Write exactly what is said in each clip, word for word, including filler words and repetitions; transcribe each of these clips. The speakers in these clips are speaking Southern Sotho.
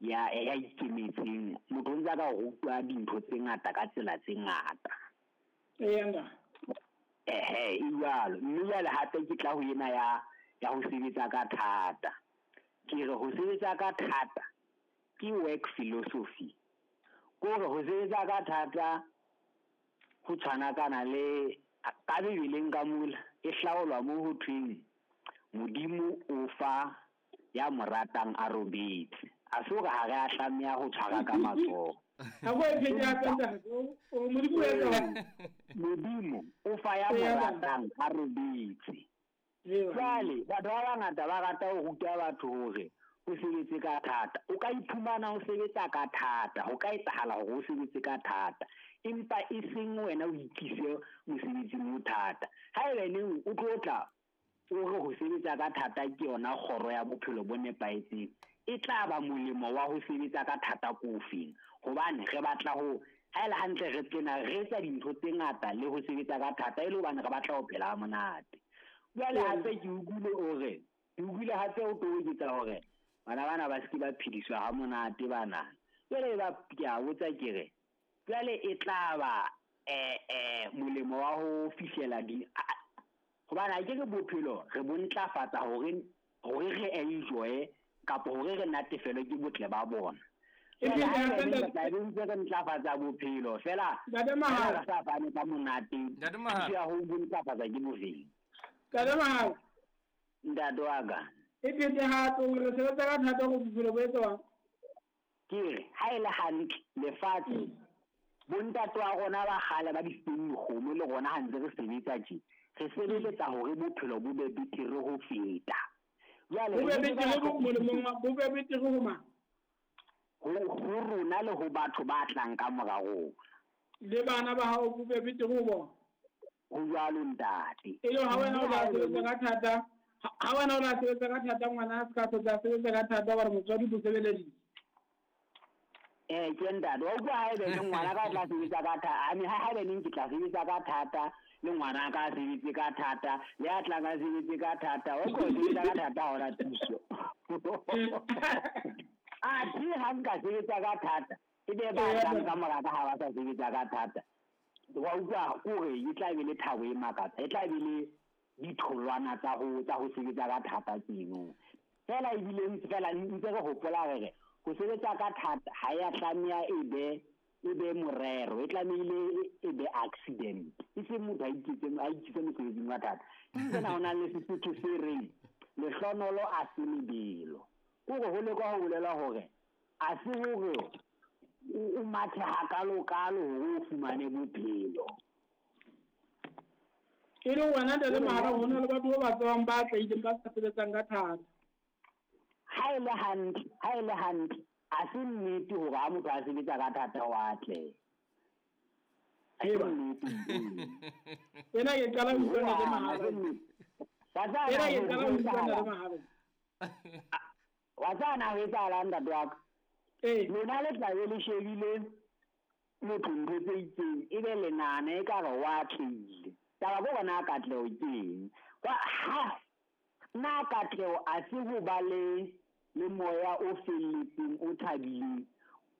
ya ya ikemetseng. Motho o ntse a ka rutwa dintho tse ngata ka tsela tse ngata. Eya. Ehe, e jwalo. Mme jwale hape ke tla ho ena ya ya ho sebetsa ka thata. Ke re ho sebetsa ka thata ke work philosophy. Kore ho sebetsa ka thata ho tshwanakana le ka Bibeleng ka mola e hlaolwa mo ho thweng Modimo o fa ya mo ratang a robetse. A se hore ha re a tlameha ho tshwara ka matsoho. Ha go e phete hape ntate. O Modimo o etsa Modimo o fa ya mo ratang a robetse. Jwale batho ba bangata ba rata ho ruta batho hore o sebetse ka thata. O ka iphumana o sebetsa ka thata, ho ka etsahala hore o sebetse ka thata, empa e seng wena o ikise mosebetsing o thata. Haeba neng o tlo tla o re ho sebetsa ka thata ke yona kgoro ya bophelo bo nepahetseng, e tla ba molemo wa ho sebetsa ka thata ko ofeng? Hobane re batla ho ha ele hantle re tsena re etsa dintho tse ngata le ho sebetsa ka thata e le hobane re batla ho phela ha monate. Jwale hape ke utlwile o re, ke utlwile hape o toboketsa hore bana bana ba se ke ba phediswa ha monate bana. Jwale ba ke a botsa ke re, jwale e tla ba eh eh molemo wa ho fihlela di hobane ha ke re bophelo re bo ntlafatsa hore hore re enjoy kapa hore re natefelwe ke botle ba bona. E Jwale phete ha hape re ntate. tla be ntse re ntlafatsa bophelo fela Ntate fela Mahala. re sa fane ka monate. Ntate Mahala. Thuso ya ho bo ntlafatsa ke bofeng? Ntate Mahala. Ntate wa ka. E phete hape o re sebetsa ka thata hore bophelo bo etswang. Ke re ha e le hantle lefatshe bontate wa rona ba kgale ba di seng dikgomo le rona ha ntse re sebetsa tje, re sebeletsa hore bophelo bo be betere ho feta. Jwale Bo be re betere sebetsa bo molemong wa bo be betere ho mang? Ho ho rona le ho batho ba tlang ka mora rona. Le bana ba hao bo be betere ho bona. Ho jwalo ntate. E le ha wena o Mme la ha e sebetsa le ka thata, ha wena o la sebetsa ka thata ngwana a se ka hlotla a sebetsa ka thata hobane motswadi o sebeleditse. Eh ke ntate, wa utlwa haebe le ngwana ka o tla sebetsa ka thata, I mean ha haebe neng ke tla sebetsa ka thata le ngwana ka sebetse ka thata, le a tlang a sebetse ka thata, wa utlwa ho sebetsa ka thata ha hona thuso. Athe ha nka sebetsa ka thata, e be ba tlang ka mora ka ha ba sa sebetsa ka thata. Wa utlwa kore e tla be le thabo e makatsa, e tla be le ditholwana tsa ho tsa ho sebetsa ka thata tseno. Fela ebile ntse fela ntse re hopola re re ho sebetsa ka thata ha ya tlameha e be e be morero, e tlamehile e be accident. E se motho a iketse a iketse mosebetsing wa thata. Ke tsena ho na le Sesotho se reng lehlonolo a se lebelo. Kore ho leka ho bolela hore a se hore o mathe hakalo-kalo hore o fumane bophelo. E le wena ntate Mahala, ho na le batho ba ba tsebang ba atlehileng ba sa sebetsang ka thata. Ha e le hantle, ha e le hantle, ha se nnete hore ha motho a sebetsa ka thata wa atleha. Ha se nnete. Ena ke qala ho utlwa ntate Mahala. Ha se nnete. Wa tseba Ena ke na qala ho ho utlwa ntate etsahala? Mahala. Wa tseba na ho etsahalang ntate wa ka? Ee. Lona le tla be le shebile motho ntho tse itseng, ebe le nahana ekare wa atlehile. Taba ke hore na katleho ke eng? Wa ha na katleho a se ho ba le le moya o felletseng o thabileng.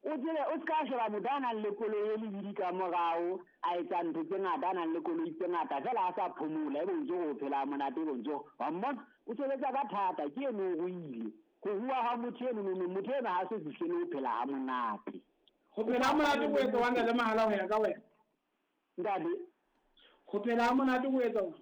O tsebe o ska sheba motho a nang le koloi e lebidi ka morao, a etsa ntho tse ngata, a nang le koloi tse ngata, fela a sa phomola, ebe o ntso o phela monate, ebe o ntso wa mmona o sebetsa ka thata, ke eno o ruile. Ho rua ha motho eno, no, no, motho eno ha se fihlele ho phela ha monate. Ho phela ha monate ho etsa wang ntate Mahala ho ya ka wena? Ntate. Ho phela ha monate ho etsa wang?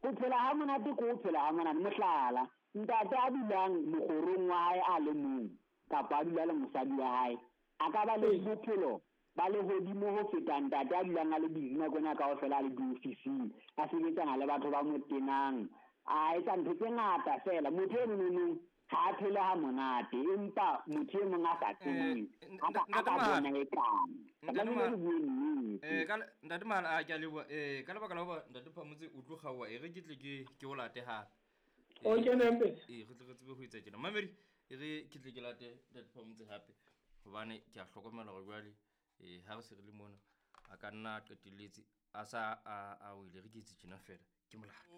Ho phela ha monate ke ho phela ha monate. Mohlala, ntate a dulang mokgorong wa hae a le mong, kapa a dula le mosadi wa hae, a ka ba le bophelo ba lehodimo ho feta ntate a dulang a le busy nako ena kaofela a le diofising, a sebetsana le batho ba mo tenang, a etsa ntho tse ngata fela. Motho eno nonong ha a phele ha monate, empa motho e mong a sa tsebeng, Eh, a ka, a ka Ntate Mahala. bona e kang. Ntate Tlamehile Mahala. re bue nnete. Eh, ka le-, Ntate Mahala, a ke a leboha. Eh, ka lebaka la hoba Ntate Phamotse o tlo kgaoha, e re ke tle ke, ke o late hape. O kene mpe. Eh, re tle re tsebe ho etsa tjena. Mamedi, e re ke tle ke late Ntate Phamotse hape, hobane ke a hlokomela hore jwale, eh, ha re se re le mona, a ka nna a qetelletse a sa a, a wele, re ke etse tjena fela, ke molato.